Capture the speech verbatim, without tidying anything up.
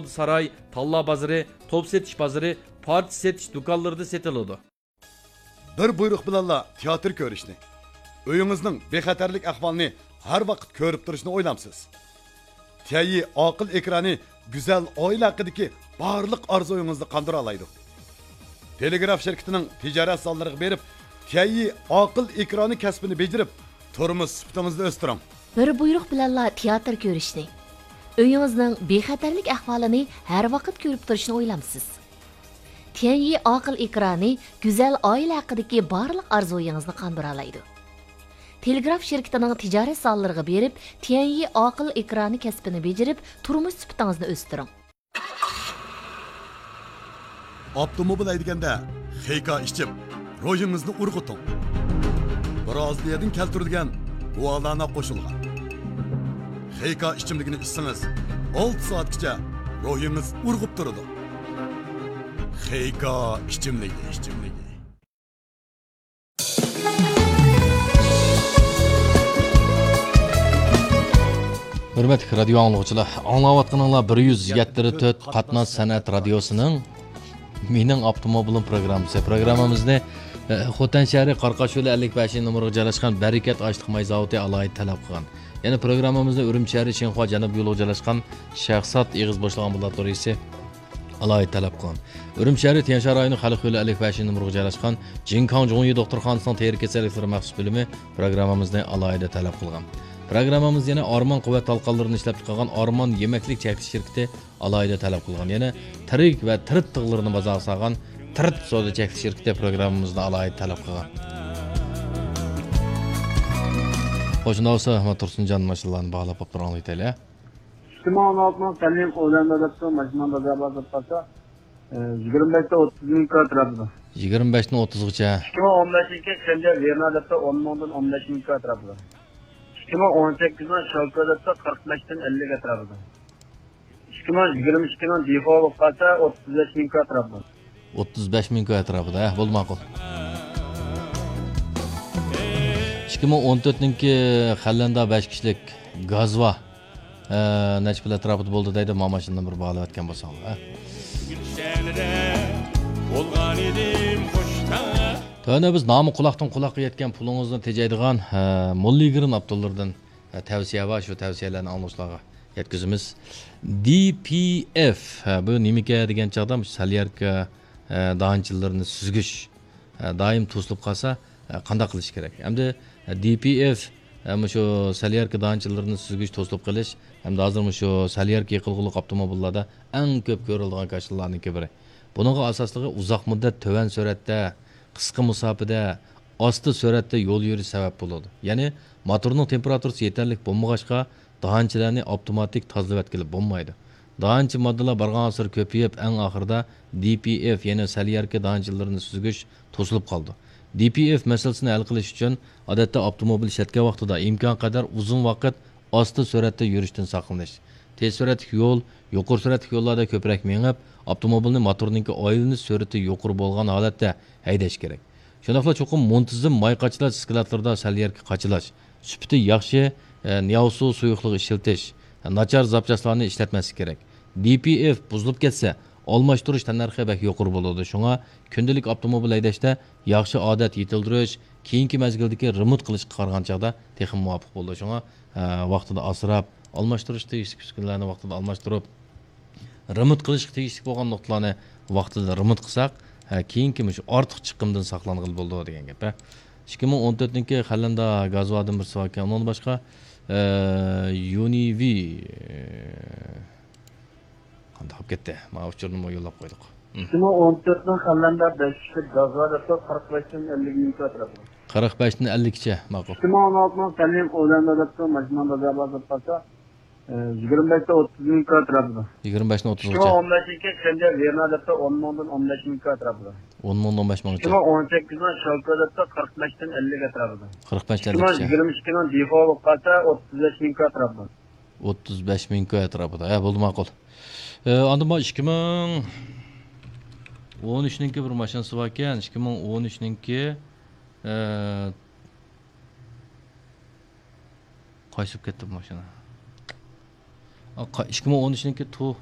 ساراي، تاللا بازىرى، توپ سېتىش بازىرى، پارچە سېتىش دۇكانلىرىدا سېتىلىدۇ. بىر بۇيرۇق بىلەنلا تىياتىر كۆرۈشنى، ئۆيىڭىزنىڭ بىخەتەرلىك ئەھۋالىنى ھەر ۋاقىت كۆرۈپ تۇرۇشنى ئويلامسىز؟ تيەنيى ئاقىل ئېكرانى گۈزەل ئائىلە ھەققىدىكى بارلىق ئارزۇيىڭىزنى قاندۇرالايدۇ. تېلېگراف شىركىتىنىڭ تىجارەت زاللىرىغا بېرىپ، تيەنيى ئاقىل ئېكرانى كەسپىنى بېجىرىپ، تۇرمۇش سۈپىتىڭىزنى ئۆستۈرۈڭ. بىر بۇيرۇق بىلەنلا تىياتىر كۆرۈشنى، ئۆيىڭىزنىڭ بىخەتەرلىك ئەھۋالىنى ھەر ۋاقىت كۆرۈپ تۇرۇشنى ئويلامسىز؟ تيەنيى ئاقىل ئېكرانى گۈزەل ئائىلە ھەققىدىكى بارلىق ئارزۇيىڭىزنى قاندۇرالايدۇ. تېلېگراف شىركىتىنىڭ تىجارەت زاللىرىغا بېرىپ، تيەنيى ئاقىل ئېكرانى كەسپىنى بېجىرىپ، تۇرمۇش سۈپىتىڭىزنى ئۆستۈرۈڭ. ئاپتوموبىل ھەيدىگەندە خېيكا ئىچىم، روھىڭىزنى ئۇرغۇتۇڭ. برازىلىيەدىن كەلتۈرۈلگەن گۇالانا قوشۇلغان خېيكا ئىچىملىكىنى ئىچسىڭىز، ئالتە سائەتكىچە روھىڭىز ئۇرغۇپ تۇرىدۇ. خېيكا ئىچىملىكى، ئىچىملىكى. ھۆرمەتلىك رادىيو ئاڭلىغۇچىلار، ئاڭلاۋاتقىنىڭلار بىر يۈز يەتتە تۆت قاتناش سەنئەت رادىيوسىنىڭ مېنىڭ ئاپتوموبىلىم پروگراممىسى. پروگراممىمىزنى، ئە، خوتەن شەھىرى قاراقاشيولى ئەللىك بەشىنچى نومۇرغا جايلاشقان بەرىكەت ئاشلىق ماي زاۋۇتى ئالاھىدە تەلەپ قىلغان. يەنە پروگراممىمىزنى ئۈرۈمچى شەھىرى شىنخۇا جەنۇبىي يولىغا جايلاشقان شەخسات ئېغىز بوشلىغان بۇلار تورىسى ئالاھىدە تەلەپ قىلغان. ئۈرۈمچى شەھىرى تيەنشان رايونى خەلق يولى ئەللىك بەشىنچى نومۇرغا جايلاشقان جىنكاڭ جۇڭيى دوختۇرخانىسىنىڭ تېرە كېسەللىكلىرى مەخسۇس بۆلۈمى پروگراممىمىزنى ئالاھىدە تەلەپ قىلغان. پروگراممىمىز يەنە ئارمان قۇۋۋەت تالقانلىرىنى ئىشلەپچىقارغان ئارمان يېمەكلىك چەكلىك شىركىتى ئالاھىدە تەلەپ قىلغان. يەنە تىرىك ۋە تىرىت تىغلىرىنى بازارغا سالغان تىرىت سودا چەكلىك شىركىتى پروگراممىمىزنى ئالاھىدە تەلەپ قىلغان. خوش، شۇنداق بولسا، ئەھمەت تۇرسۇنجان ماشىنىلارنى باھالاپ بولۇپ تۇرۇڭ، ئېيتايلى. ئىككى مىڭ ئون ئالتىنىڭ سەليەنكا ئولاندە دەپتۇ، ماشىنا بازار بار دەپ قالسا، ئە، يىگىرمە بەشتىن ئوتتۇز مىڭ كىلو ئەتراپىدا. يىگىرمە بەشتىن ئوتتۇزغىچە. ئىككى مىڭ ئون بەشىنچى يىل سەليەنكا ۋېرنا دەپتۇ، ئون مىڭدىن ئون بەش مىڭ كىلو ئەتراپىدا. ئىككى مىڭ ئون سەككىزنىڭ شالكا دەپتۇ، قىرىق بەشتىن ئەللىك ئەتراپىدا. ئىككى مىڭ يىگىرمە ئىككىنىڭ دىفو بولۇپ قالسا، ئوتتۇز بەش مىڭ كىلو ئەتراپىدا. ئوتتۇز بەش مىڭ كىلو ئەتراپىدا، ھە، بولدى، ماقۇل. ئىككى مىڭ ئون تۆتنىڭكى خەنلەندە بەش كىشىلىك گازۋا، ئە، نەچچە پۇل ئەتراپىدا بولدى دەيدۇ، ما ماشىنىنى بىر باھالاۋەتكەن بولساڭلار، ھە. تۆۋەندە بىز نامى قۇلاقتىن قۇلاققا يەتكەن پۇلىڭىزنى تېجەيدىغان، ئە، موللىگرىن ئاپتولىرىدىن، ئە، تەۋسىيە بار، شۇ تەۋسىيەلەرنى ئاڭلىغۇچىلارغا يەتكۈزىمىز. دى پى ئېف، ھە، بۇ نېمىكەن دېگەن چاغدا مۇشۇ سالياركا، ھە، دانچىلىرىنى سۈزگۈچ، ھە، دائىم توسۇلۇپ قالسا، ھە، قانداق قىلىش كېرەك؟ ئەمدى، ھە، دى پى ئېف، ھە، مۇشۇ سالياركا دانچىلىرىنى سۈزگۈچ توسۇلۇپ قېلىش ھەمدە ھازىر مۇشۇ سالياركا يېقىلغۇلۇق ئاپتوموبىللاردا ئەڭ كۆپ كۆرۈلىدىغان كاشىلىلارنىڭكى بىرى. بۇنىڭغا ئاساسلىقى ئۇزاق مۇددەت تۆۋەن سۈرئەتتە، قىسقا مۇساپىدە، ئاستا سۈرئەتتە يول يۈرۈش سەۋەب بولىدۇ. يەنى موتورنىڭ تېمپېراتۇرىسى يېتەرلىك بولمىغاچقا، دانچىلەرنى ئاپتوماتىك تازىلىۋەتكىلى بولمايدۇ. دانچە ماددىلار بارغانسېرى كۆپىيىپ، ئەڭ ئاخىرىدا دى پى ئېف، يەنى سالياركا دانچىلىرىنى سۈزگۈچ توسۇلۇپ قالىدۇ. دى پى ئېف مەسىلىسىنى ھەل قىلىش ئۈچۈن، ئادەتتە ئاپتوموبىل ئىشلەتكەن ۋاقتىدا ئىمكانقەدەر ئۇزۇن ۋاقىت ئاستا سۈرئەتتە يۈرۈشتىن ساقلىنىش. تېز سۈرئەتلىك يول، يۇقىرى سۈرئەتلىك يوللاردا كۆپرەك مېڭىپ، ئاپتوموبىلنى موتورنىڭكى ئايلىنىش سۈرئىتى يۇقىرى بولغان ھالەتتە ھەيدەش كېرەك. شۇنداقلا چوقۇم مۇنتىزىم ماي قاچىلاش دىسكىلاتلىرىدا سەل يەرگە قاچىلاش، سۈپىتى ياخشى، ئە، نياۋسۇ سۇيۇقلۇقى ئىشلىتىش، ناچار زاپچاسلارنى ئىشلەتمەسلىك كېرەك. دى پى ئېف بۇزۇلۇپ كەتسە، ئالماشتۇرۇش تەننەرخى بەك يۇقىرى بولىدۇ. شۇڭا كۈندىلىك ئاپتوموبىل ھەيدەشتە ياخشى ئادەت يېتىلدۈرۈش، كېيىنكى مەزگىلدىكى رېمونت قىلىشقا قارىغان چاغدا تېخىمۇ مۇۋاپىق بولىدۇ. شۇڭا، ئە، ۋاقتىدا ئاسراپ، ئالماشتۇرۇش تېگىشلىك ئۈسكۈنىلەرنى ۋاقتىدا ئالماشتۇرۇپ، رېمونت قىلىشقا تېگىشلىك بولغان نۇقتىلارنى ۋاقتىدا رېمونت قىلساق، ھە، كېيىنكى مۇشۇ ئارتۇق چىقىمدىن ساقلانغىلى بولىدۇ دېگەن گەپ، ھە. ئىككى مىڭ ئون تۆتنىڭكى خەنلەندە گازۋادىن بىرسى باركەن. ئۇنىڭدىن باشقا، ئە، يۇنىۋى، ئە، قانداق بولۇپ كەتتى؟ مانا ئۇچۇرنىمۇ يوللاپ قويدۇق. ھىم. ئىككى مىڭ ئون تۆتنىڭ خەنلەندە بەش كىشىلىك گازۋا دەپتۇ، قىرىق بەشتىن ئەللىك مىڭ كىلو ئەتراپىدا. قىرىق بەشتىن ئەللىككىچە، ماقۇل. ئىككى مىڭ ئون ئالتىنىڭ سەليەنكا ئولاندە دەپتۇ، ماشىنا بازار بار دەپ قالسا، ئە، يىگىرمە بەشتىن ئوتتۇز مىڭ كىلو ئەتراپىدا. يىگىرمە بەشتىن ئىككى مىڭ ئوتتۇزغىچە. ئون بەشىنچى يىل شەنجيەن ۋېرنا دەپتۇ، ئون مىڭدىن ئون بەش مىڭ كىلو ئەتراپىدا. ئون مىڭدىن ئون بەش مىڭغىچە. ئىككى مىڭ ئون سەككىزنىڭ شالكا دەپتۇ، قىرىق بەشتىن ئەللىك ئەتراپىدا. قىرىق بەشتىن ئەللىككىچە. ئىككى مىڭ يىگىرمە ئىككىنىڭ دىفو بولۇپ قالسا، ئوتتۇز بەش مىڭ كىلو ئەتراپىدا. ئوتتۇز بەش مىڭ كوي ئەتراپىدا. ھە، بولدى، ماقۇل. ئە، ئاندىن بار ئىككى مىڭ ئون ئۈچنىڭكى بىر ماشىنىسى باركەن. ئىككى مىڭ ئون ئۈچنىڭكى، ئە، قايسى بولۇپ كەتتى بۇ ماشىنا؟ ئا، قا-، ئىككى مىڭ ئون ئۈچنىڭكى تو-،